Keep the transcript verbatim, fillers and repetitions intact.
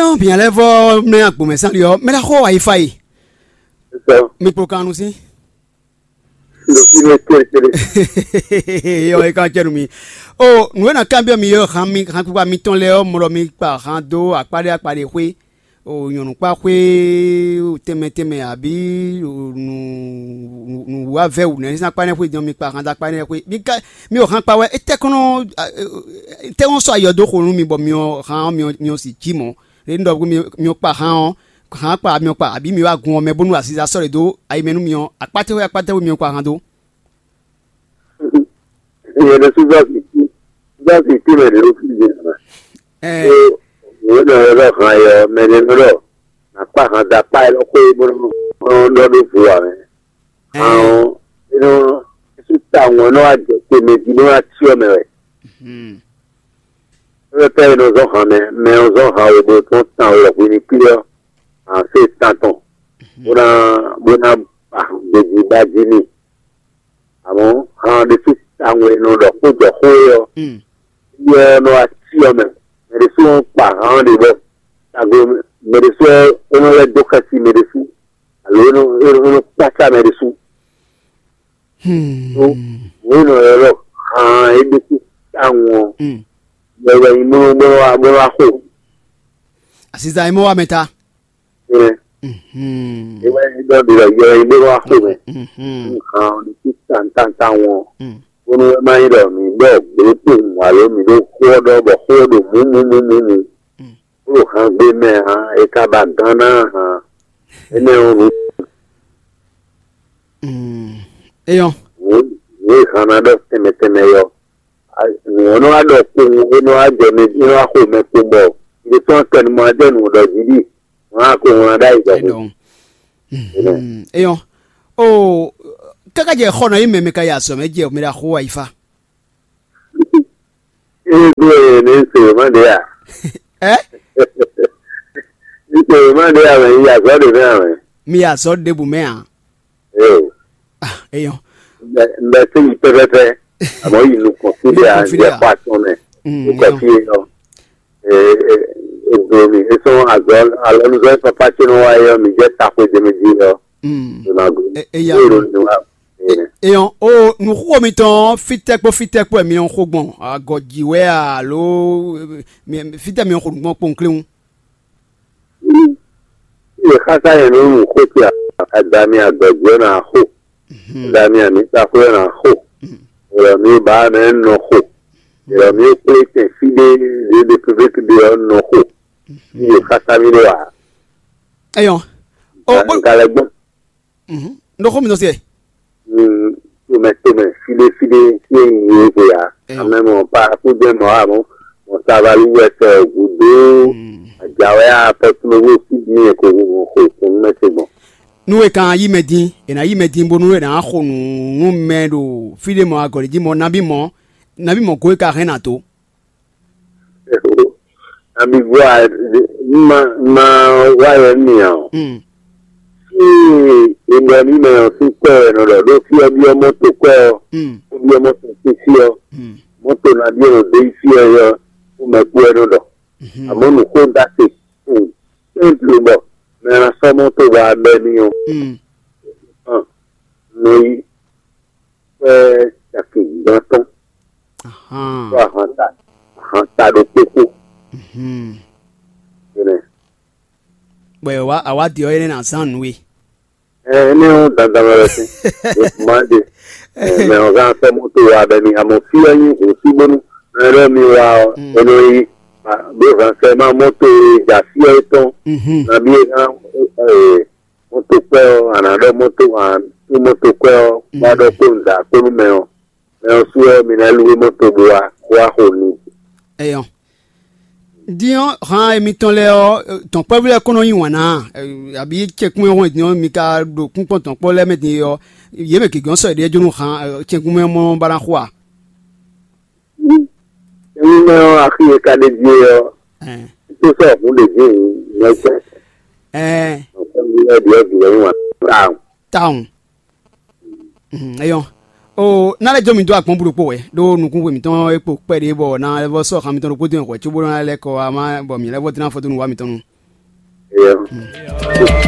Ɔ́, bǐ lɛ́ɛ vɔ mlɛ́ agbǒmɛ sán ɖi ɔ́, mɛ ɖaxó wa yi fa yi. Mi kpo kan nu sín. Ɖo fínɛ́ céɖécéɖé. Yɔ, é kan cɛ nú mi. O, nǔ e ná kanbyɔ́ mi ɔ́, han mi han kpikpa mitɔn lɛ́ɛ ɔ́, mɔ ɖɔ mi kpa han dó akpá ɖé akpá ɖé xwé. O, nyɔ̌nukpáxwé tɛnmɛ tɛnmɛ abǐ nǔ nǔwavɛ́ wǔ nɛ́ sín akpá nɛ́ xwé din ɔ́, mi kpa han dó akpá nɛ́ xwé. Mi ka mi ɔ́ han kpa wɛ, étɛ́ kɔn nɔ étɛ́ kɔn sɔ́ ayɔ dó xo nú mi bɔ mi ɔ́ han ɔ́ mi ɔ́ mi ɔ́ si jí mɔ̌. Ɖé un ɖɔ mi ɔ́ kpa han ɔ́, han kpa mi ɔ́ kpa abǐ mi wá gun ɔ́ mɛ bónú aziza sɔ́ ɖě dó ayi mɛ nú mi ɔ́, akpátɛ́xwé akpátɛ́xwé mi ɔ́ kpa han dó. Nyɛ ɖésú zɔ́ sin tín zɔ́ sin tín mɛ ɖě ɖo fí din ǎ. Ɛ Ó, wǒ nɔ ylɔ́ han yɔ mɛ ɖé nɔ ɖɔ nǎ kpa han da kpá élɔ́ xwé bó nɔ ɖɔ ɖó vo ǎ mɛ. Ɛ Han ɔ́, é nɔ é sú tawun ɔ́ nɔ wá jɛ te mɛ jí bó ná cyɔ mɛ wɛ. Hmm. Pɛ́pɛ́ é nɔ zɔ́n han mɛ, mɛ ɔ́ zɔ́n han we bó tɔn tan wɛ hwi ní klí ɔ́, han sé tán tɔn, bó ná bó ná ba han gbéjí ba jí n'i. Amɔ̌ han ɔ́ ɖésú tawun e nɔ ɖɔ xó jɔ xó é ɔ́, Mm. Yɛ ɔ́ nɔ wá cí ɔ́ mɛ. Mɛ ɖésú ɔ́ kpa han ɔ́ ɖe bɔ tago mɛ ɖésú ɔ́ é nɔ lɛ́ dó xɛsi mɛ ɖésú, alo é nɔ é nɔ é nɔ kpácá mɛ ɖésú. Hmm. Nǔ e nɔ ylɔ́ han é ɖésú tawun ɔ́, Mm. Yɛ wɛ nyí bó nɔ bó nɔ wá bó nɔ wá xo. Asisa yi mɔ wa mɛ ta. Ɛ, Mhm. É wɛ nyí ɖɔ ɖi lɛ yɛ nyí bó nɔ wá xo mɛ. Mhm. Han ɔ́ ɖésú tawun tawun ɔ́, Mm. Bónú é má nyí ɖɔ mǐ ɖɔ gběkún alo mǐ ɖo xó ɔ́ ɖɔ bɔ xó ɔ́ ɖo mǔmǔmǔmǔ, Mm. Bó ɖo han gbé mɛ ǎ, é ka ba gán ná ǎ. Énɛ́ ɔ́, nǔ Mm. Eyɔn. Nǔ nǔ e han ná ɖɔ tɛnmɛ tɛnmɛ yɔ. Nǔ ɔ́ nɔ wá ɖɔ kpowun, é nɔ wá jɛ mɛ, é nɔ wá xo mɛ kpowun bɔ ɖésú akɛnumɔ ɔ́ jɛ nǔ ɖɔ jí ɖi. Wǎn ko wlán ɖ'ayǐ ɖɔhun. Eyɔn. O, káká jɛ xɔ nɔ yi mɛ mɛ ka yi azɔ̌ mɛ jɛ mɛ ɖo axo ayifa. Ée ɖó e ní se wěma ɖě a? Ɛ? Ní se wěma ɖě a mɛ yi azɔ̌ ɖě mɛ a mɛ? Mi yi azɔ̌ ɖěbǔ mɛ a? Eo. Ah, eyɔn. Mbɛ mbɛ se yi pɛpɛpɛ. Àmọ́ yi nukɔn fí ɖé a Nukɔn fí ɖé a? Jɛ xɔ atɔn mɛ. Mm, Nukɔn eyɔn. Fí é yɔ. Ee, ee, e do mi. E sɔn azɔ alɔnuzɔ e papa ce nɔ wa yɔ mi jɛ ta xwe jɛ mi ji yɔ. Mm. Mi ma go. E- eya. Ero ni wa. Ee. Eyɔn o nuxuxo mitɔn fitɛ kpó fitɛ kpó mi ɔn xo gbɔn agɔ ji wɛ alo mi- fitɛ mi ɔn xo gbɔn kpɔn kléwu. Ye xasa yɛ nɔ nu xo ti adami agɔ ji wɛ na xo. Damian ní ta xwé ɔ́ ná xo. Yɔ̌ mì ba mɛ nɔ xo. Yɔ̌ mì kplé tɛn fí ɖé ɖě ɖě pépéke ɖé ɔ́ nɔ xo. Yě xasa mì ɖó ǎ. Eyɔn. O bó Nka lɛ gbɔn. Mhm. Nɔ xɔ mi nɔ se. Tomɛ tomɛ fí ɖé fí ɖé fí é yi é xwe ǎ. Eyɔn. Amɛ mɔ pa kúdé mɔ amɔ mɔ savalu wɛ sɛ gǔdó. Àjàwé apɔtúnúwé fí bí yẹn kò xo kò ní mɛ se gbɔn. Nú è kan yí mɛ dín, è nǎ yí mɛ dín bónú è nǎ xo nǔ nú mɛ ɖo fí ɖé mɔ̌ agɔ̌ ɖé jí mɔ̌ nabí mɔ̌, nabí mɔ̌ gǒ e ka hɛn nǎ dó. Nabí gɔ́ a ma ma wá yɛ nú mì ǎ. Mm. Fí e è ɖɔ nú mɛ ɔ́ sín kwɛ́ wɛ è nɔ ɖɔ ɖó fí ɔ́ byɔ́ mɔ́to kwɛ́ ɔ́, Mm. Bó byɔ́ mɔ́to sín fí ɔ́, Mm. Mɔ́to nabí e nɔ dó yi fí ɔ́ yɔ fú mɛ kú wɛ nɔ ɖɔ. Mhm. Àmọ́ nǔxó ɖ'así, tɛ́ntin bɔ mɛ ná sɔ́ mɔ́ tó wá bɛ́ mì ɔ́, Mm. Hàn, nɔ yi kpɛ́ caki gbɔn tɔn, Ahan. Kpó ahan ta, ahan ta ɖokpó kpó. Mhm. Énɛ́. Bɔ è wá àwa ɖi ɔ́ énɛ́ ná zán nǔ e. Ɛ, énɛ́ ɔ́ dandan wɛ wɛ sín. Má ɖe. Ɛ, mɛ ɔ́ gán sɔ́ mɔ́ tó wá bɛ́ mì. Àmọ́ fí ɔ́ nyí hǔn sí bónú mɛ ɖɔ mi wá ɔ́, Mm. É nɔ yi. Bó hɛn sɛ má mɔ́ tó e ja fí ɔ́ tɔn. Mhm. Nabí é ná ɛ, mɔ́to kpɛ́ ɔ́, a nǎ ɖɔ mɔ́to, a nǎ tú mɔ́to kpɛ́ ɔ́, bó wá ɖɔ kpó nǔɖa kpó nú mɛ ɔ́. Mɛ ɔ́ sú ɔ́, mi ná lú we mɔ́to bó wá, bó wá xo nu. Eyɔn. Din ɔ́, han emitɔn lɛ́ɛ ɔ́, tɔ̌nkpɔ́vú lɛ́ɛ kó nɔ yí wǎn ná, abǐ cɛkún e hɔn din ɔ́, mi ka ɖo kúnkpɔ́n tɔ̌nkpɔ́ lɛ́ɛ mɛ din é ɔ́, yě mɛ gěgé ɔ́ sɔ yě ɖíe jó nú han cɛkún mɛ mɔ ba ná xo a? Emi mɛ ɔ́, axi e ka ɖe jí é ɔ́, Ɛn. Tó sɔ hun ɖe jí hun mɛ sɛ. Ɛn. Nɔkɔn mi lɛ ɖiɛ ɖiɛ nyi wa. Tawun. Tawun. Mhm, eyɔn. O ná lɛ́ jó mi dó akpɔ́n búɖokpó wɛ ɖó nukúnxwe mǐtɔn é kpo kpɛɖé bɔ ná lɛ́ vɔ sɔ́ xan mitɔn ɖokpó dó nyɛ hwɛ̌ cóbó ná lɛ́ kɔ wá má bɔ mǐ lɛ́ vɔ dlɛ́n afɔ dó nǔ wá mitɔn nu.